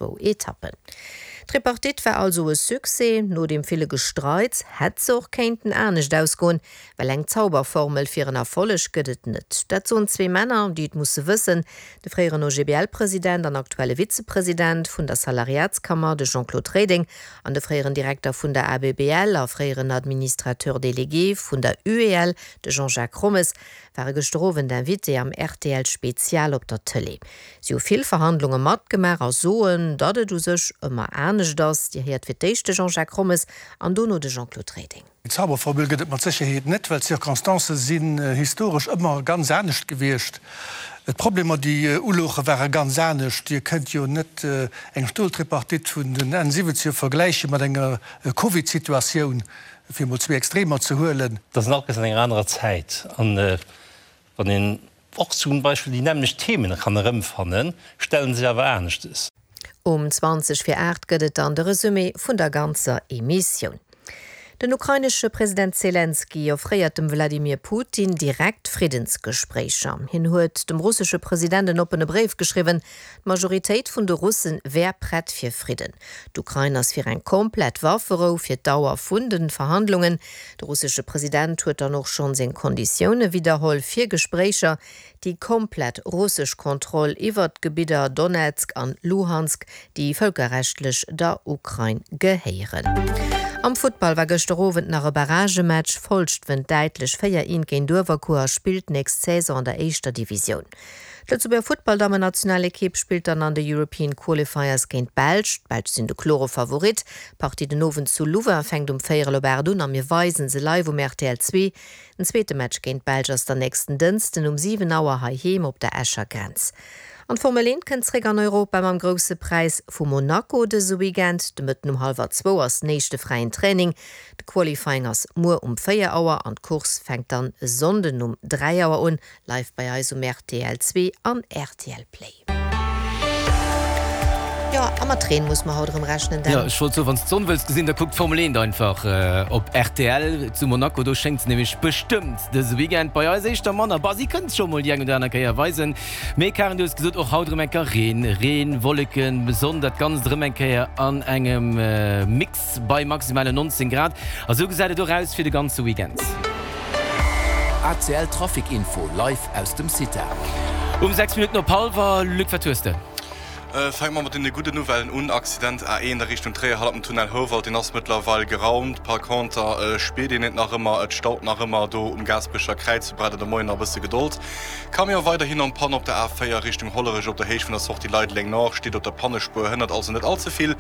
zwou Etappen. D'Tripartite war also e Succès. No deem ville Gestreits hätt se och kéinten anescht ausgoen, well eng Zauberformel fir en Erfolleg gëtt et net. Dat soen zwee Männer, déi et musse wëssen, de fréieren OGBL-President an aktuelle Vizepresident vun der Salariatskammer, de Jean-Claude Reding, an de fréieren Direkter vun der ABBL a fréieren Administrateur délégué vun der UEL, de Jean-Jacques Rommes, ware gëschter Owend Invité am rtl Spezial op der Tëlee. Si hu vill Verhandlunge matgemaach a soen, datt et u sech ëmmer anescht ass. Dir héiert fir d'éischt de Jean-Jacques Rommes an dono de Jean-Claude Reding. Eng Zauberformel gëtt et mat Sécherheet net, well d'Circonstancë sinn historesch ëmmer ganz anescht gewiescht. D'Problemer, déi ulouche ware ganz anescht. Dir kënnt jo net eng Stoltripartite vun den Enn Siwwenzeger vergläiche mat enger Covid-Situatioun, fir emol zwee Extremer ze huelen. Dat ass alles an enger anerer Zäit. An wann een och zum Beispill déi nämmlecht Themen kann erëmfannen, stelle sech awer aneschtes. Um 20 vir 8 gëtt et dann de Resumé vun der ganzer Emissioun. Den ukrainesche President Selenskyj offréiert dem Wladimir Putin direkt Friddensgespréicher. Hien huet dem russesche President en oppene Bréif geschriwwen. D'Majoritéit vun de Russe wär prett fir Fridden. D'Ukrain ass fir eng komplett Wafferou fir d'Dauer vun de Verhandlungen. De russesche President huet dann och schonn seng Konditioune widderholl fir Gespréicher, déi komplett russesch Kontroll iwwert d'Gebidder Donezk an Luhansk, déi vëlkerrechtlech der Ukrain gehéieren. Am Futtball war gëschter Owend nach e Barragematch. Folscht wënnt däitlech 4, 1 géint Uewerkuer a spillt nächst Saison an der éischter Divisioun. D'Lëtzebuerger Futtballdammennationalekipp spillt dann an de European Qualifiers géint d'Belsch. D'Belsch sinn de klore Favorit. D'Partie den Owend zu Louvain fänkt um véierel op 8 un a mir weisen se live um rtl 2. Den zweete Match géint d'Belsch ass dann nächsten Dënsten um 7 Auer heiheem op der Escher Grenz. An d'Formel 1 kënnt zréck an Europa mam Grousse Präis vu Monaco dëse Weekend. De Mëtten um hallwer zwou ass den éischte fräien Training. De Qualifying ass muer um 4 Auer an d'Course fänkt dann e Sonnden um 3 Auer un. Live bei eis um rtl 2 an rtl Play. Jo, a mat Reen muss mer haut erëm rechnen, Dan. Jo, ech wollt soen, wann s d'Sonn wëlls gesinn, da kuck d'Formel 1 einfach op rtl zu Monaco. Do schéngt se nämlech bestëmmt dëse Weekend. Bei eis éischter manner. Bah, si kënnt scho mol déi eng oder aner Kéier weisen. Mee Karen, du hues gesot, och haut erëm eng Kéier Reen. Reen, Wolleken, Sonn, dat Ganzt erëm eng Kéier an engem Mix bei maximalen 19 Grad. A sou gesäit et och aus fir de ganze Weekend. ACL Trafic Info live aus dem CITA. Um 6 Minutten op hallwer, Luc, wat hues de? Fänke mer mat deene gudden Nouvellen un, Accident A1 a Richtung Tréier hannert dem Tunnel Houwald, deen ass mëttlerweil geraumt. Par conter spiert een et nach ëmmer, et staut nach ëmmer do um Gaasperecher Kräiz, do braucht der de Moien nach e bësse Gedold. Camion weiderhin en panne op der A4 Richtung Hollerech op der Héicht vun der Sortie Leideleng Nord, steet op der Pannespuer, hënnert also net all ze vill.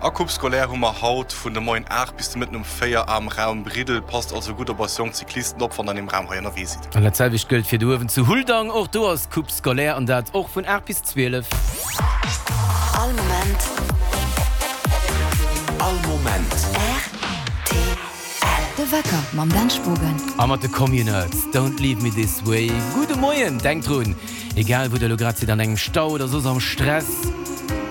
A Coupe scolaire hu mer haut vun de Moien 8 bis de Mëtten um 4 am Raum Briddel. Passt also gutt op eis jonk Cyclisten op, wann der an deem Raum hei ënnerwee sidd. An dat selwecht gëllt fir de Uewen zu Huldang. Och do ass Coupe scolaire an dat och vun 8 bis 12. All Moment. All Moment. Rtl. De Wecker mam Dan Spogen. A mat de Communards, Don't leave me this way. Gudde Moien! Denkt drun, egal wou der elo grad sidd, an engem Stau oder soss am Stress.